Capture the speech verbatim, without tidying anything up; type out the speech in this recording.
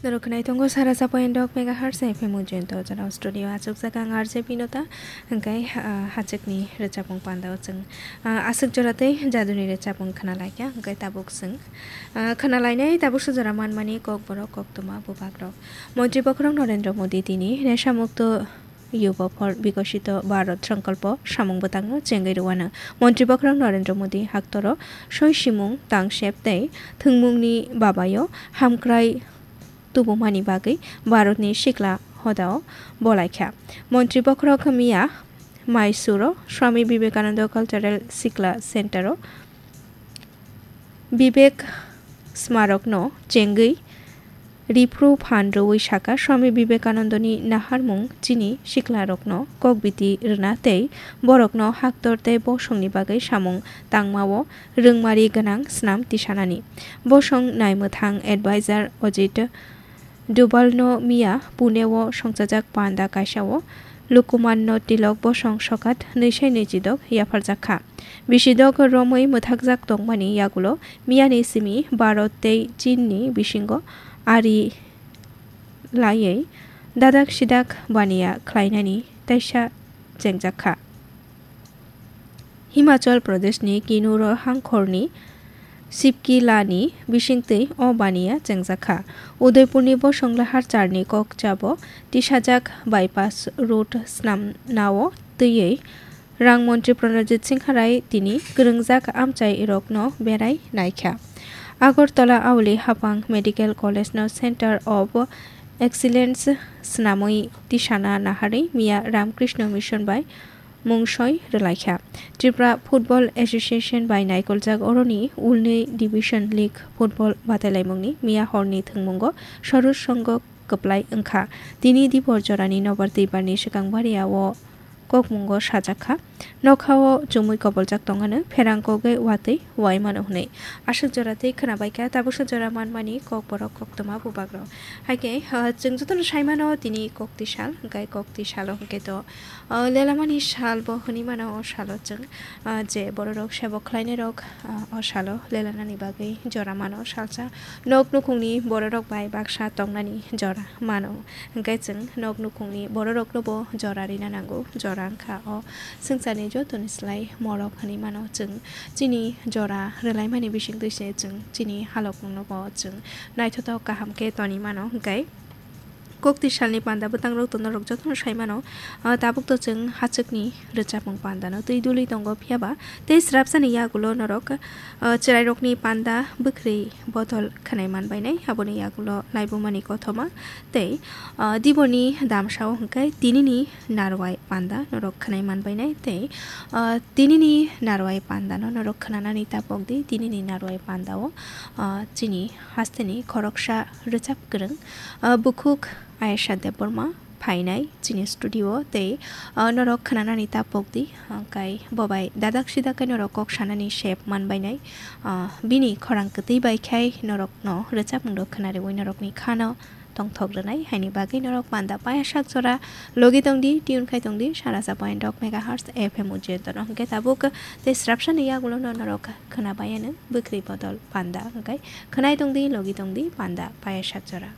Norok khwnai tongo sara sapoin dok megahertz F M Ujjayanta Ojana studio achukjak ang R J Binota, hwnkhe, ah, hachwkni rwchapmung pandao chwng, ah, aswk jora tei jaduni rwchapmung khwnalaikha, hwnkhe tabuk chwng, ah, khwnalainai tabuksa jora manmani kokborok koktwma bubagrok. Montri bokhorok Narendra Modi tini Nesha Mukto Yuba for Bikosito Bharat Sankalpo samung bwtangno chengwi rwano. Montri bokhorok Narendra Modi haktoro soi simung, tangsep tei thwngmungni babayo hamkrai tubumani bagwi Bharatni sikla hodao bolaikha. Montri bokhorok miya Mysore-o Swami Vivekananda Cultural Sikla Center-o Vivek Smarokno chengwi riphru phan rwui sakha, Swami Vivekanandani naharmung chini siklarokno kokbiti rwna tei borokno haktor tei bosongni bagwi samung tangmao rwngmari gwnang snam tisanani. Bosong naimwthang advisor Ajit Dovalno miya Pune-o songchajak panda kaisa-o Lokomanno Tilok bosong sokat nwi sai nwi chidok yapharjak kha. Bisidok romwi mwthakjak tongmani yagulo miyani simi Bharat tei Chinni bisingo ari laiwi dadak sidak baniya khlainani teisa chengjak kha. Himachal Pradeshni Kinnaur hangkhorni Sipkilani bisingtwi o baniya chengjak kha. Udaipurni bosong lahar charni kokchabo tisajak bypass road snamnao twiwi rang montri Pranajit Singha Rai tini kwrwngjak amchairokno berai naikha. Agartala Auli Hapang Medical College-no Center of Excellence swnamwi tisana naharwi miya Ramakrishna Mission bai mungsoi rwlaikha. Tripura Football Association bai naikoljak oroni ulni Division League football batailaimungni miya horni thwngmungo Saroj Songho kwplai wngkha. Tini dibor jorani nobar twibarni swkang baria o kokmungo sajak kha. Nokhao chumui koboljak tongano pherang kogwi watwi uaimano hwnwi. Aswk jora tei khwnabaikha tabuksa jora manmani kokborok koktwma bubagrok. Haikhe, ah, chwng jotono saimano tini kokti sal, hwnkhe kokti salo hwnkhe to Ah, lelamani sal bo hwnwi mano o salo chwng, ah, je bororok sebo khlainairok, ah, o salo lelanani bagwi jora mano salsa. Nok nukhungni bororok bai baksa tongnani jora mano. Hwnkhe chwng nok nukhungni bororokno bo jora rina nango. Jora wngkha o swngcharni jotoni slai morok hwnwi mano chwng. Chini jora rwlaimani bisingtwi se chwng chini halokno bo chwng naithotok kaham khe toni mano. Hwnkhe Kokti salni panda bwtangrok to norok jotono sai mano. Ah, tabuk to chwng hachwkni rwchapmung pandano twi dului tongo, phiya ba tei srapsani yagulo norok, ah, chwrairokni panda bwkhri bodol khwnai man bainai. Aboni yagulo laibumani kothoma tei, ah, diboni damsao hwnkhe tinini narwai panda norok khwnai man bainai tei, ah, tinini narwai pandano norok khwnanani tapok di. Tinini narwai pandao, ah, chini hasteni khoroksa rwchap kwrwng, ah, bukhuk Ayesha Debbarma phainai chini studio tei, ah, norok khwnanani tapok di, ah, kai bo bai dadak sidak khe norok kok sanani sep man bainai, ah, bini khorang kwtwi bai khai norokno rwchapmung rok khwnariwi norokni khano tongthok rwnai haini bagwi norok panda paya sak jora logi tong di, tune khai tong di, sara sa point dok megahertz F M Ujjayanta no hwnkhe tabuk tei srapsani yagulo no norok khwna bayano bwkhri bodol panda hwnkhe khwnai tong di, logi tong di panda paya sak jora.